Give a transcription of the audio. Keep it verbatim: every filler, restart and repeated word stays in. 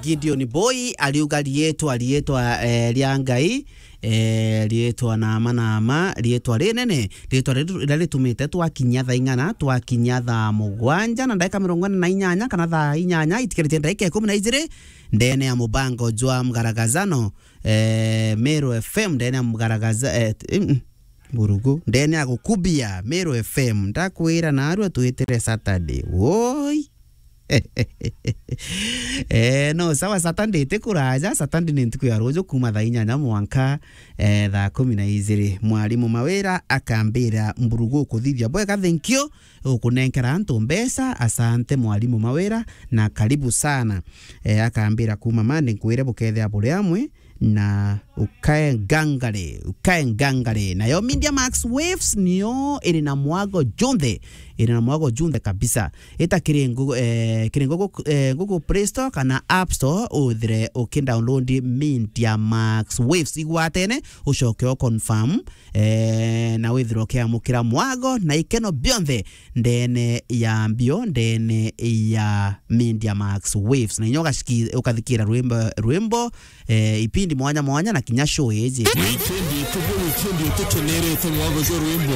Gideon Boy ariuga riitwa, riitwa, eh, ria Ngai, eh, riitwa nama nama, riitwa rinene, riitwa riria ritumite twakinya thaa ing'ana, twakinya thaa mugwanja na ndagika mirongo ina na inyanya, kana thaa inyanya itikiritie ndagika ikumi na ijiri, ndene ya mubango jwa mgaragazano, eh, Meru F M, ndene ya mgaragaza-, eh, t-, mm, mm, Burugu, ndene ya gukubia Meru F M, ndakwira narua twitire Saturday. Woi! Eh, no, sawa, Saturday ti kuraja, Saturday ni ntuku ya ruju kuma thaa inyanya mwanka, eh, thaa kumi na ijiri. Mwarimu Mawira akambira, Mburugu ukuthithia bwega, thank you, ukunenkera antu mbeca, asante Mwarimu Mawira, na karibu sana. Eh, akambira, kuma Monday nkwire bukethia buri amwe, na ukae ngangare, ukae ngangare. Nayo Media Max Waves niyo iri na mwago junthe, iri na mwago junthe kabisa. Ita kiri Google, eh, kiri Google, eh, Google Play Store kana App Store, uthire ukidownload Media Max Waves. Igwatene, ucoke o confirm, eh, na withire ukiamukira mwago na ikeno bionthe ndene ya mbio, ndene ya Media Max Waves. Na inya ugaciki-, ukathikira rwimbo, rwimbo, eh, ipindi mwanya mwanya na kinya show iji. Wikendi tuku, wikendi tukenerete mwago jwa rwimbo.